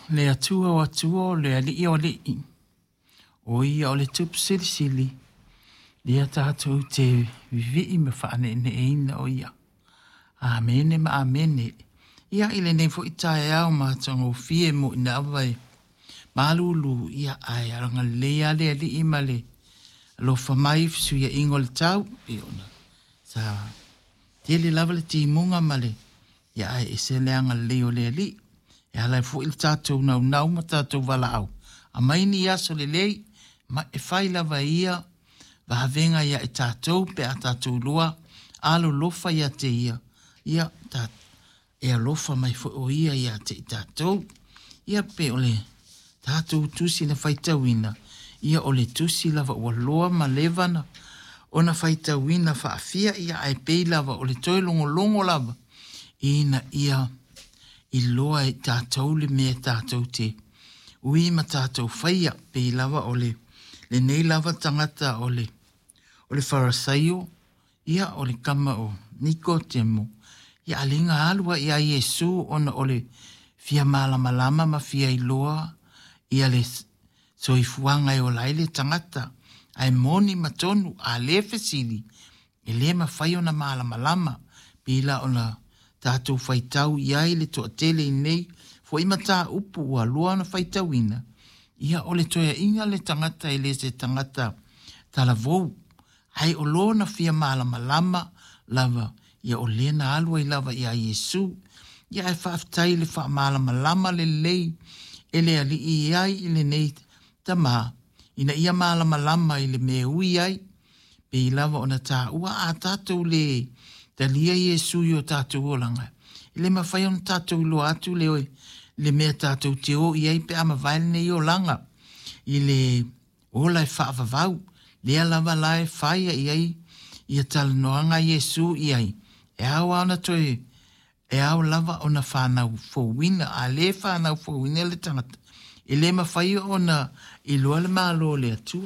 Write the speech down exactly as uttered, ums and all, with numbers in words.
Le Atua o Atua, o le Alii o Alii, o ia o le Tupu Silisili, lea tatou te vivii ma faaneeneeina o ia. Amene ma amene. Ia i lenei foi taeao matagofie mo ina ava e malulu, ia ae agalelei lava le Alii ma le alofa mai i fesuiaiga o le tau, pei ona sa tele lava le timuga ma le ia ae ese le agalelei o le Alii. E ala ai foi le tatou naunau ma tatou valaau, aumai ni aso lelei, ma e fai lava ia vavega ia i tatou pe a tatou iloa alolofa ia te ia, ia ta, e alofa mai foi o ia ia te i tatou. Ia pe o le tatou tusi na faitauina, ia o le tusi lava ua loa ma leva na ona faitauina faafia, ia ae pei lava o le toe logologo lava ina ia iloa e tatou le mea tatou te ui ma tatou faia, pei lava o le lenei lava tagata o le o le Farasaio, ia o le tama o Nikotemo, ia a lea na alu ai ia Iesu ona o le fia malamalama ma fia iloa ia le soifuaga e ola ai le tagata, ae moni ma tonu, a le fesili, e le mafai ona malamalama, pei la ona tatou faitau i ai le toatele i nei foi mataupu ua lua ona faitauina, ia o le toeaiina le tagata e le se tagata talavou, ae o lona fia malamalama lava, ia o lea na alu ai lava ia Iesu. Ia ae faafetai i le faamalamalama lelei e le Alii i ai i lenei tama, ina ia malamalama i le mea ui ai, pei lava ona taua a tatou le talia Iesu i o tatou olaga, e le mafai ona tatou iloa atu le, le mea tatou te o i ai pe a mavae lenei olaga, i le ola e faavavau, lea lava la e fai i ai ia talanoaga a Iesu i ai, e ao lava ona toe, e ao lava ona whanau fouina, a le whanau fouina le tangata, e le mawhai ona iloa le malo le Atua.